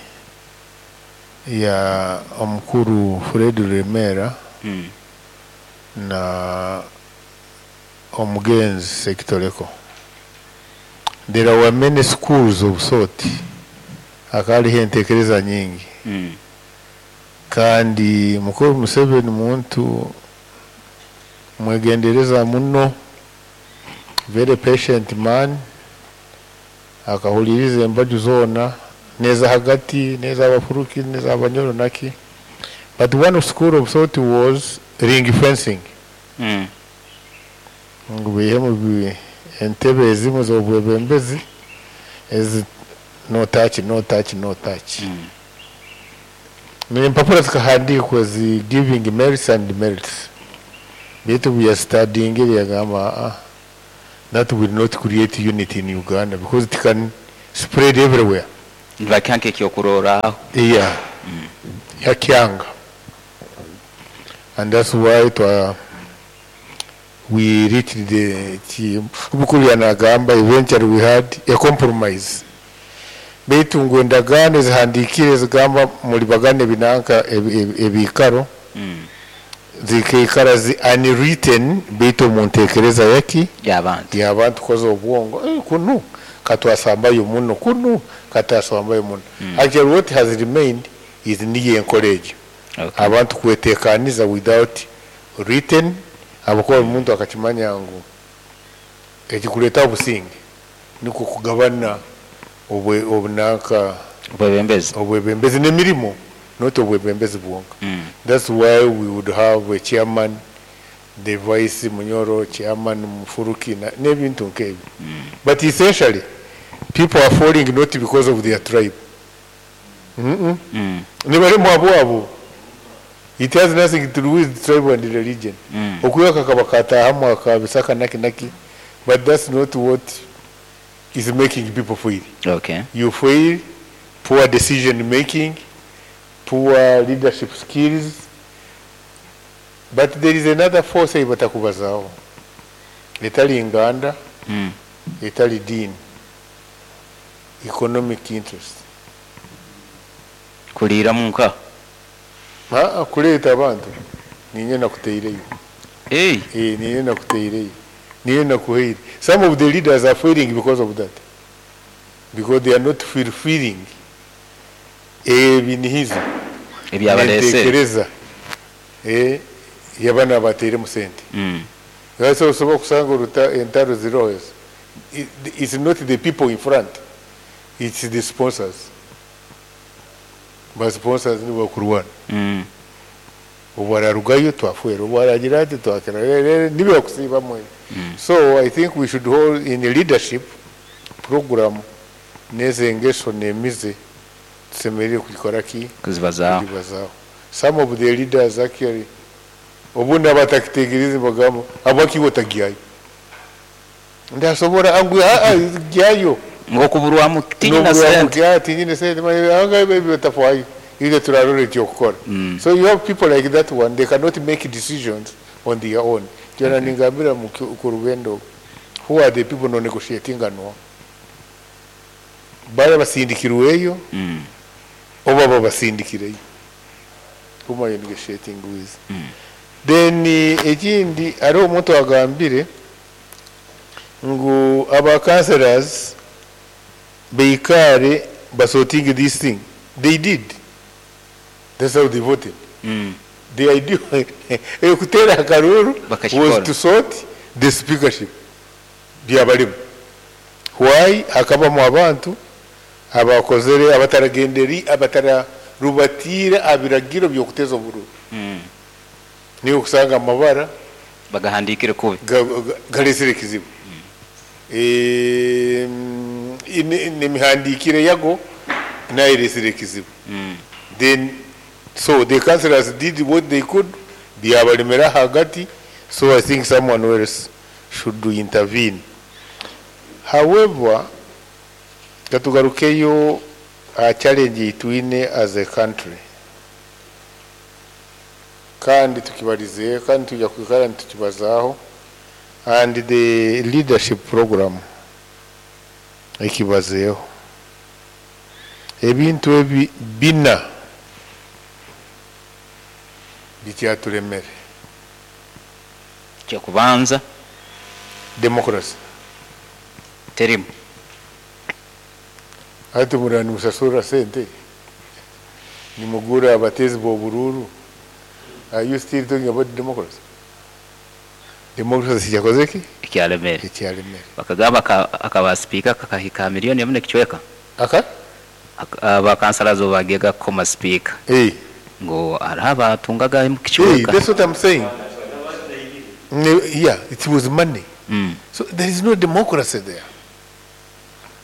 ya omukuru Fred Remera na omugenzi Sekitoleko. There were many schools of thought, akaliho entekereza nyingi. Kandi mukuru Museveni muntu mwegendereza muno, very patient man, akahuliriza embaju zona, neza hagati, neza abafuruki, neza Abanyoro naki. But one school of thought was ring fencing, ngu bihemu entebe ezimu z'obwebembezi ezi no touch, no touch, no touch. Nempapura zikahandikwa zi giving merits and demerits, bitu bya studying yagamba, ah, that will not create unity in Uganda because it can spread everywhere. Nibakiha nk'ekyokurorraho. Yeah, yakyanga, and that's why we reached the mukuru yanagamba eventually we had a compromise, baitu ngu endagaano ezihandiikire zigamba muli bagane binanka ebiikaro zikaikara zi unwritten, baitu omu ntekereza yaki y'abantu, y'abantu koza obwongo, kunu katwasambayo muno, kunu katwasambayo muno. Actually, what has remained is niyo enkora egyo, abantu kwetekaniza without written, abakuba omuntu akakimanya ngu ekikuleeta obusinge nikwo kugabana obunanka obwebembezi, obwebembezi n'emirimo, not obwebembezi bwonka. That's why we would have a chairman, the vice Munyoro, chairman Mufuruki, n'ebintu nk'ebyo. But essentially, people are falling not because of their tribe. Nibalimu abo abo. It has nothing to do with tribe and religion. Okuyaka kaba katahamu akabisaka naki naki, but that's not what is making people fail. You fail, poor decision making, poor leadership skills. But there is another force ebatakubazaaho, etali nganda, etali dini, economic interest. Kuliira munka. Kuleeta abantu ninye nakuteireyo. Hey. Ninye nakuteireyo, ninye nakuheire. Some of the leaders are failing because of that, because they are not fulfilling ebinihizo ebyabalese entekereza yabana bateiremu sente. Lwaki osobola okusanga oruta entaro ziroho? It's not the people in front, it's the sponsors. Ba sponsors nibo bakurwana. Obu ararugayo twafwera, obu aragira ati twakira, nibyo bakusiibamu ebyo. So I think we should hold in a leadership program n'ezengeso n'emize tusemerire kugikora ki? Kuzibazaaho. Kuzibazaaho. Some of the leaders actually obundi abatakitegereze bagamba abakiwo tagyayo, ndasobora angu gyayo. Ng'okuburwamu tinyina sente. Tinyina sente anga ebyo batafwayo, ile turarora ekyokukora. So you have people like that one, they cannot make decisions on their own. Kyona ningambira ku rugendo, who are the people no negotiating no baya basindikirweyo oba babasindikireyo, whom are you negotiating with? Then ekindi, hariho omuntu agambire ngu aba councillors beikare basorting this thing. They did. That's how they voted. The idea ekutera akaruru Bakakikora. was to sort the speakership byabalimu. Why hakabamu abantu abakozere abataragenderi abatararubatire abiragiro byokuteza obururu, niyo kusanga amabara bagahandikire kubi, galesere ekizibu. N'emihandikire yago nayo eresere ekizibu. Then so the councillors did what they could, byabalemera hagati. So I think someone else should intervene. However, katugarukeyo a challenge twine as a country, kandi tukibarize kandi tujya kwikara tukibazaho, and the leadership program ekibazeeho ebintu ebi bina bikyaturemere. Kyokubanza, democracy terimu. Ati murani musasura sente nimugura abatezi b'obururu, are you still talking about democracy? Democracy yakoze ki? Ekyalemere. Ekyalemere. Bakagamba akaba speaker kakahika miliyoni emu n'ekicweka. Aka? Abakansalazo bagega koma speaker. Ngo hariho abatungaga mu kicweka. That's what I'm saying. Yeah, it was money. So there is no democracy there.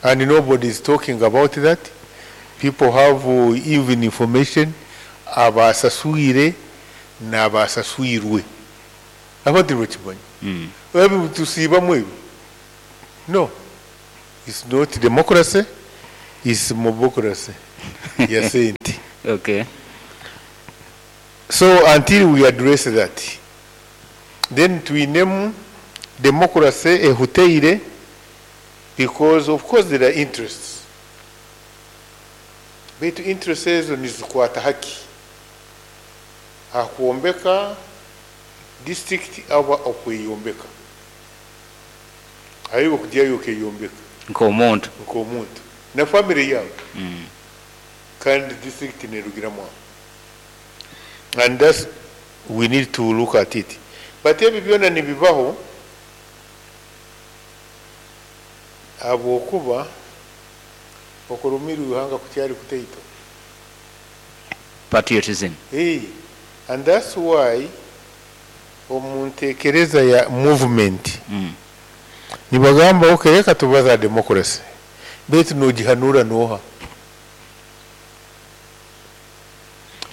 And nobody is talking about that. People have even information abasaswire n'abasaswirwe. Abandi bakimanyi. Ebi tusiibamu ebyo. No, it's not democracy. Is mobocracy ya sente. Okay. So until we address that, then twinemu democracy ehuteire, because of course there are interests. Baitu interests ezo nizikwata haki akwombeka district aba okweyombeka, ayiwe kujyayo okeyombeka nk'omuntu, nk'omuntu na family yawe. Kandi district nerugiramu aho, and that's we need to look at it. But ebyo byona nibibaho habwokuba okurumira ihanga kukyali kutaito. Patriotism. Hey, and that's why omuntekereza ya movement nibagamba, okay, reka tubaza democracy, baitu nogihanura noha?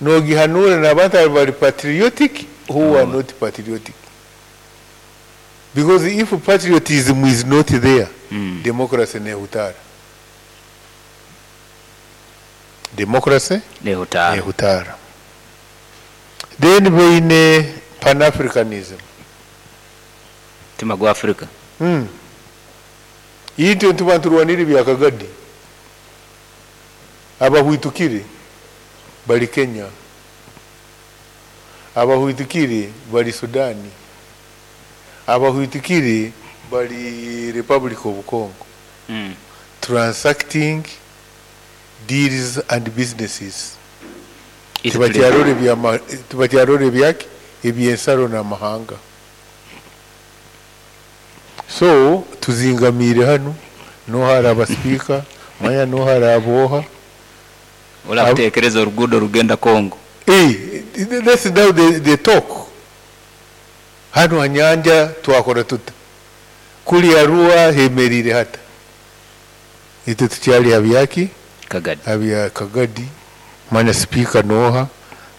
Nogihanura n'abantu abali patriotic who are not patriotic, because if patriotism is not there, democracy nehutara, democracy nehutara, nehutara. Then baine Pan-Africanism. Mutima gwa Africa. Itwe ntuba nturwanira ebya Kagadi, abahwitukire bali Kenya, abahwitukire bali Sudani, abahwitukire bali Republic of Congo. Transacting deals and businesses. Tibakyarora ebyaki ebyensaro n'amahanga. So tuzingamiire hanu, nohari abasipiika manya nohari aboha. Urakutekereza oruguudo rugenda Congo. Hey, that's now the talk. Hano hanyanja twakora tuta, kuli Arua hemerire hata itwe tukyali habyaki Kagadi, habya Kagadi. Manya speaker noha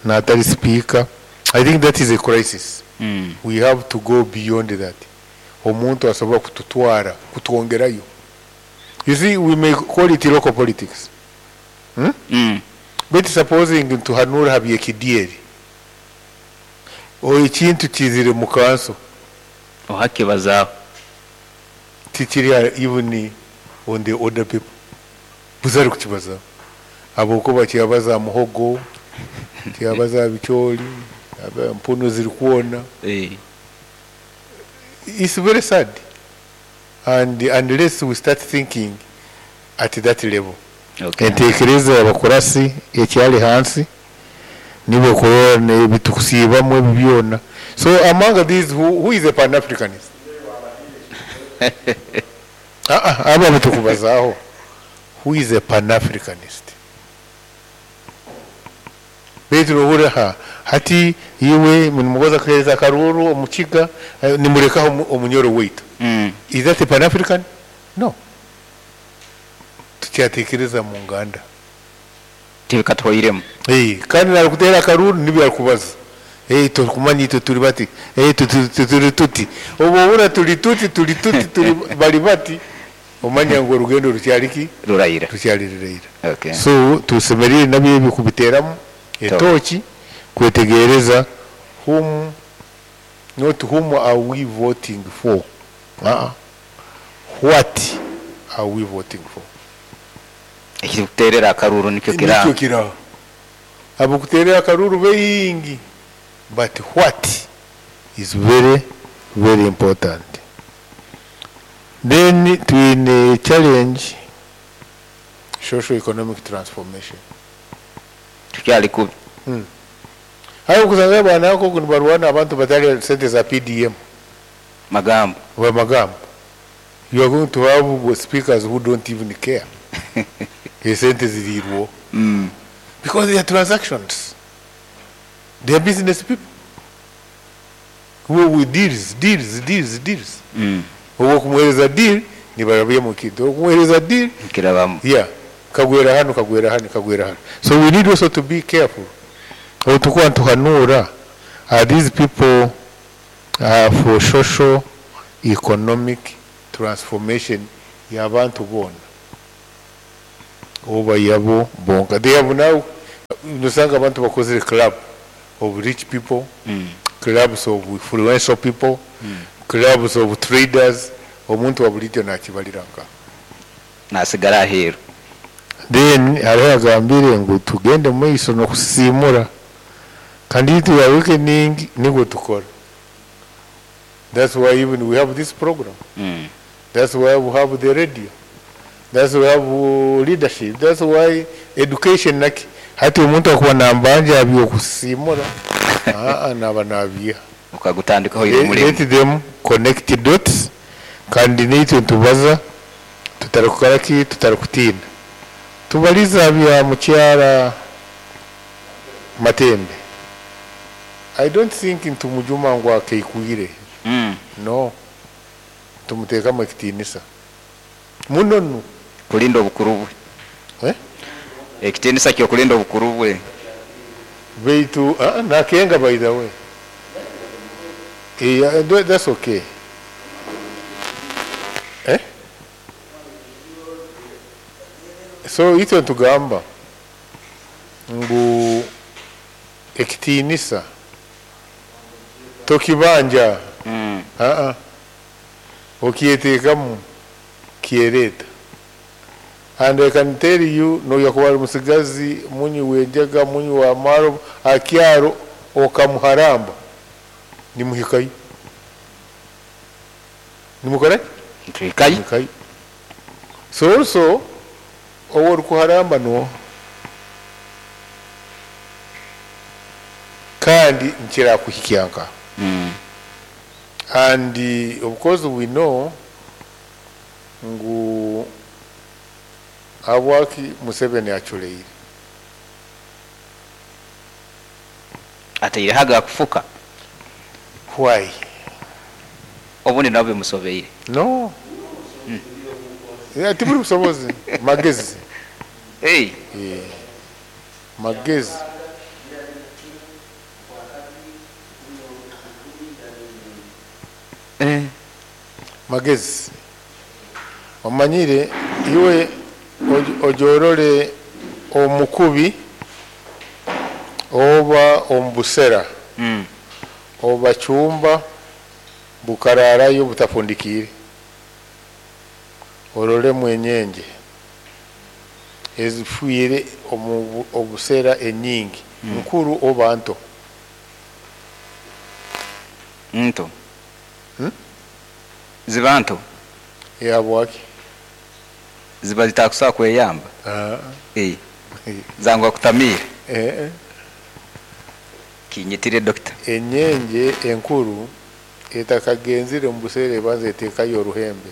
natali speaker. I think that is a crisis. We have to go beyond that. Omuntu asobola kututwara kutwongerayo. You see, we may call it local politics, But supposing ntuhanura habyekidyeri o ekintu kizire mu kanso, ohakibazaho tikiri even on the other people buzari kukibazaho, habwokuba kyabaza muhogo, kyabaza bikyoli, mpuno ziri kuona. It's very sad, and unless we start thinking at that level. Entekereza abakurasi ekyali hansi nibo kurora nebitukusiibamu ebi byona. So among these, who is a Pan-Africanist? Aba bitukubazaho, who is a Pan-Africanist? Baitu nohurira ha hati iwe nimugoza kuhereza akaruru omukiga, nimurekaho omunyoro waitu. Is that a Pan-African? No. Tukyatekereza mu nganda tibikatwoiremu. Kandi narikutera akaruru nibyo arikubaza. Tukumanya itwe turi bati, turi tuti, obu turi tuti, turi tuti, turi bali bati, omanya ngu orugendo rukyali ruraira, rukyali ruraira. Okay. So tusemerire nabyo ebi kubiteramu etoki kwetegereza whom, not whom are we voting for, what are we voting for? Ekikuterera akaruru nikyo kiraho, nikyo kiraho. Abakuterera akaruru beingi, but what is very very important. Then twine challenge social economic transformation. Tukyali kubi. Hayo kusanga bana yako kunibaruana abantu batali sente za PDM magambo wa magambo. You are going to have speakers who don't even care. Sente ziriwo. Because they are transactions. They are business people who with deals, deals, deals, deals. Owo deal ni barabye mu kintu. Okumuhereza deal kirabamu. Yeah. Kagwera hano, kagwera hano, kagwera hano. So we need also to be careful. Otukuwa ntuhanura, are these people for social economic transformation y'abantu bona? Oba yabo bonka. They have now, nosanga abantu bakozere club of rich people, clubs of influential people, clubs of traders. Omuntu wa bulijjo nakibalira nka nasigara aheeru. Then hariho agambire ngu tugende mu maiso n'okusiimura, kandi itwe awakening nigwo tukora. That's why even we have this program. That's why we have the radio. That's why we have leadership. That's why education naki. Hati omuntu akuba nambanja abyokusiimura, naba nabiha. Ukagutandikaho iro mulimo. Let them connect the dots, kandi nitwe ntubaza tutarikukora ki, tutarikutina. Tubaliza bya mukyara Matembe. I don't think ntumujuma ngu akeikwire. No. Tumuteekamu ekitiinisa. Muno nu. Kulinda obukuru bwe. Eh? Ekitiinisa ky'okulinda obukuru bwe. Beitu, nakenga by the way. Yeah, that's okay. Eh? So itwe ntugamba ngu ekitiinisa tokibanja. Okyeteekamu kyereeta. And I can tell you, no yakuba ari musigazi munywi w'enjaga, munywi wa maro, akyaro okamuharamba nimuhikayo. Nimukora? Ntuhikayo. Nimuhikayo. So also owo orikuharamba no kandi nkirakuhikyanka. And of course we know ngu habwaki Museveni aculeire. Ataireho agakufuka. Why? Obundi nabo bimusobeire. No. Yeah, tiburi busobozi. Magezi. Hey. Yeah. Magezi. Magezi. Omanyire iwe ojorore omukubi oba ombusera. Oba chumba bukararayo butafundikire. Orore mwenyenje ezifuire obusera enyingi. Nkuru oba nto? Nto. Ziba nto? Yabwaki? Ziba zitakusobola kweyamba. Zangwa kutamira. Kinyitire doctor. Enyenje enkuru etakagenzire mu busere ebanza eteekayo oruhembe.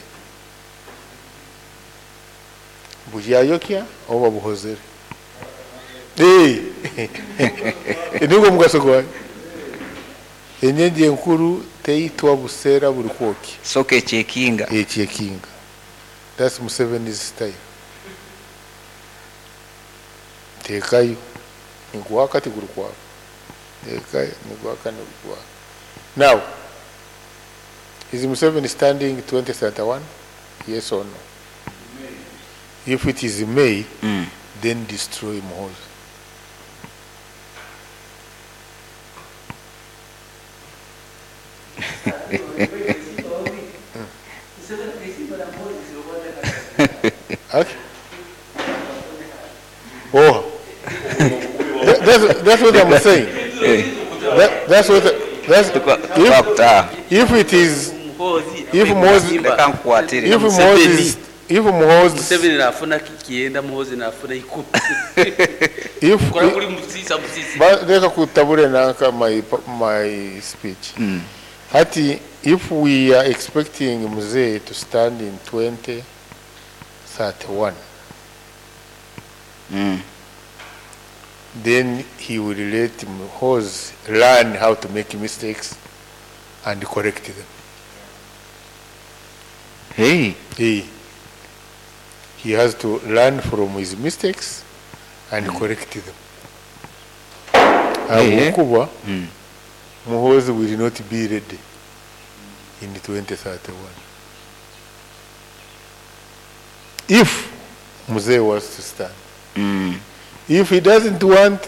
Bujyayokya oba buhozere. Nigwo mugaso gwayo. Enyenje enkuru teitwa busera buri kwoki. Soka ekyekinga. Ekyekinga. That's Museveni's style. Teekayo. Niguwaka tiguri kwaka. Teekayo, niguwaka niguwaka. Now, is Museveni standing 2031? Yes or no? If it is May, then destroy Muhoozi. Okay. Oh, that's what I'm saying. That's what. That's if it is if Moses if Moses if Muhoozi Museveni nafuna kienda Muhoozi nafuna ikumi. If kuri musisa musisi. Reka kutabure nanka my speech. Hati if we are expecting Mzee to stand in 2031, then he will let Muhoozi learn how to make mistakes and correct them. Hey. He has to learn from his mistakes and correct them. Abukuba, Muhoozi will not be ready in 2031. If Mzee was to stand. If he doesn't want